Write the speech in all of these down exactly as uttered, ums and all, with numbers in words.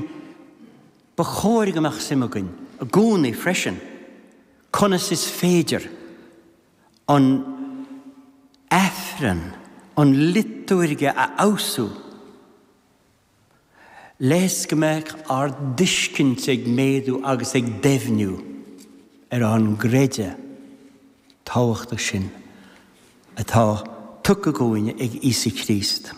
Ba chóir go mbeadh suim againn i gcónaí freisin conas is féidir an Aifreann, an liotúirge a fheabhsú le is go mbeadh ár dtuiscint ag méadú agus ag doimhniú ar an gcreideamh tábhachtach sin atá tugtha dhúinn ag Íosa Críost.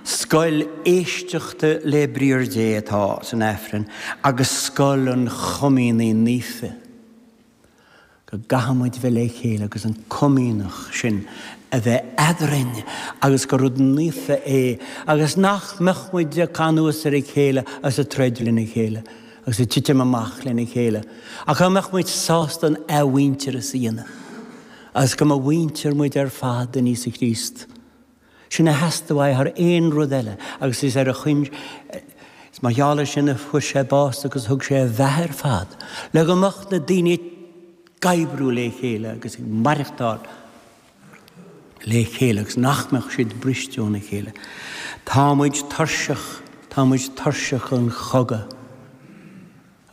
Scoil éisteachta le Briathar Dé atá san Aifreann agus scoil an Chomaoine Naofa. Go gcaithfidh muid bheith le chéile agus an comaoineach sin a bheith eadrainn agus gur rud naofa é agus nach mbeadh muid ag cur anuas ar a chéile agus ag troid lena chéile agus ag titim amach lena chéile ach go mbeadh muid sásta an athmhuintearas a dhéanamh agus go mba mhuintir muid ar fad in Íosa Críost. Sin a theastaigh uaidh thar aon rud eile agus is ar a choin is mar gheall air sin a fuair sé bás agus thug sé a bheatha ar fad le go mbeadh na daoine ag oibriú le chéile agus ag maireachtáil le chéile agus nach mbeadh siad briste óna chéile. Tá muid tuirseach, tá muid tuirseach an chogadh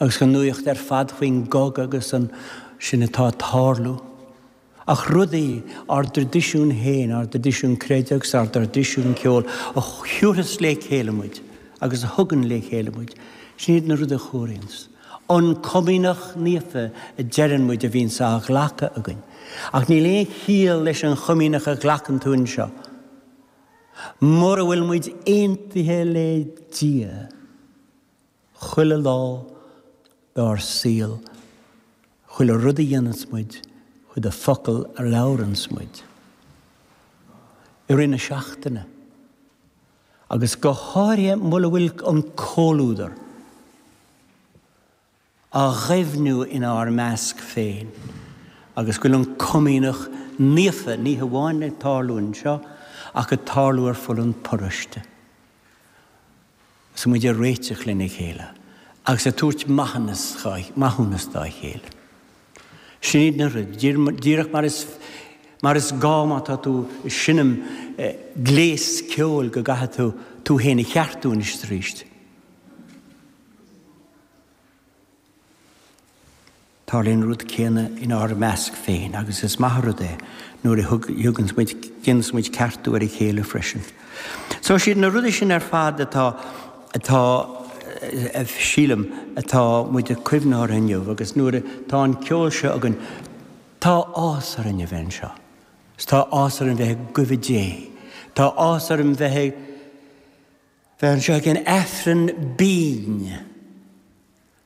agus an nuaíocht ar fad faoin gcogadh agus an sin atá ag tarlú. Ach rudaí, ár dtraidisiún féin, ár dtraidisiún creidimh agus ár dtraidisiún ceoil, a thiúrfas le chéile muid agus a thugann le chéile muid, sin iad na rudaí a chóiríonns. An Comaoineach Naofa a deireann muid a bhíonns á ghlacadh againn. Ach níl aon chiall leis an Chomaoineach a ghlacann tú anseo mura bhfuil muid aontaithe le Dia chuile lá dár saol, chuile rud a dhéananns muid, chuile focal a labhranns muid i rith na seachtaine, agus go háirithe mura bhfuil an comhluadar á dhoimhniú inár measc féin agus go bhfuil an Comaoineach Naofa ní hamháin ag tarlú anseo ach ag tarlú ar fud an pharóiste. Is muid ag réiteach lena chéile agus ag tabhairt maithiúnas dá chéile. Sin iad na rudaí, díreach mar is mar is gá má tá tú ag seinm gléas ceoil go gcaithfidh tú tú féin a cheartú anois is arís. Tarlaíonn an rud céanna inár measc féin agus is maith an rud é nuair a thuganns muid, déananns muid ceartú ar a chéile freisin. So siad na rudaí sin ar fad atá, atá, sílim, atá muid ag cuimhneamh orthu inniu agus nuair atá an ceol seo againn, tá áthas orainn a bheith anseo. Is tá áthas orainn bheith i gcuimhne Dé. Tá áthas orainn bheith ag, bheith anseo ag an Aifreann binn.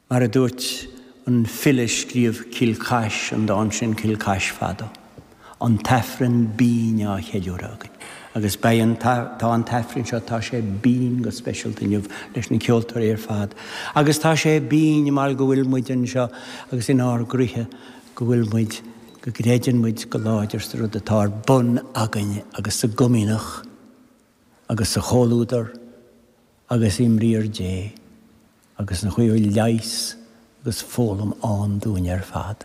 Mar a dúirt an file a scríobh Cill Chais, an dán sin Cill Chais Fadó, an tAifreann binn á cheiliúradh againn. Agus beidh an, tá an tAifreann seo, tá sé binn go speisialta inniu leis na ceoltóirí ar fad. Agus tá sé binn mar go bhfuil muid anseo agus inár gcroíthe go bhfuil muid, go gcreideann muid go láidir sa rud atá ar bun againn agus sa gcomaoineach agus sa chomhluadar agus i mBriathar Dé. Agus an chaoi a bhfuil leigheas agus foghlaim ann dúinn ar fad.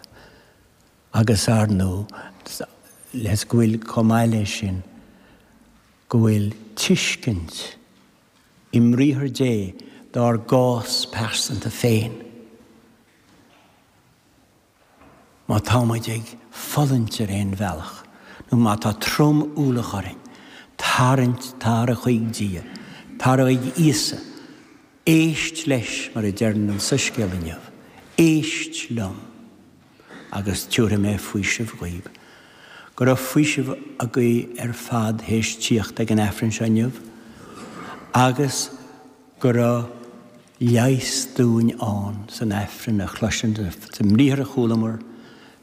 Agus ar ndóigh, le go bhfuil, chomh maith leis sin, go bhfuil tuiscint i mBriathar Dé dár gcás pearsanta féin. Má tá muid ag fulaingt ar aon bhealach, nó má tá trom-ualach orainn, tarraingt, tar chuig Dia, tar chuig Íosa, éist leis, mar a deireann an Soiscéal inniu, éist liom, agus tiúrfaidh mé faoiseamh dhaoib. Go raibh faoiseamh agaibh ar fad théis tíocht ag an Aifreann seo inniu, agus go raibh leigheas dúinn ann san Aifreann a chloisint, sa mbriathar a chualamar,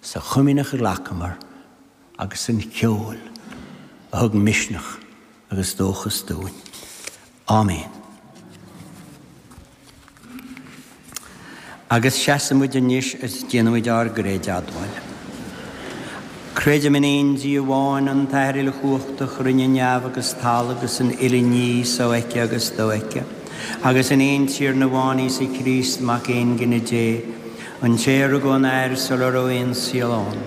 sa chomaoineach a ghlacamar agus san cheol a thug misneach agus dóchas dúinn. Áiméan. Agus seasfaidh muid anois is déanfaidh muid ár gcreideadmháil. Creidim in aon Dia amháin, an tAthair uilechumhachtach, a rinne neamh agus talamh agus an uile ní, sofheicthe agus dofheicthe, agus in aon Tiarna amháin, Íosa Críost, Mac Aongine Dé, an té a rugadh ón Athair sula raibh aon saol ann.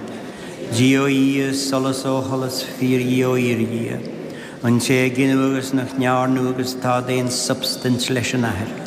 Dia ó Dhia, solas ó sholas, fíor-Dhia ó fhíor-Dhia, an té a gineadh agus nach ndearnadh agus atá d'aon substaint leis an Athair.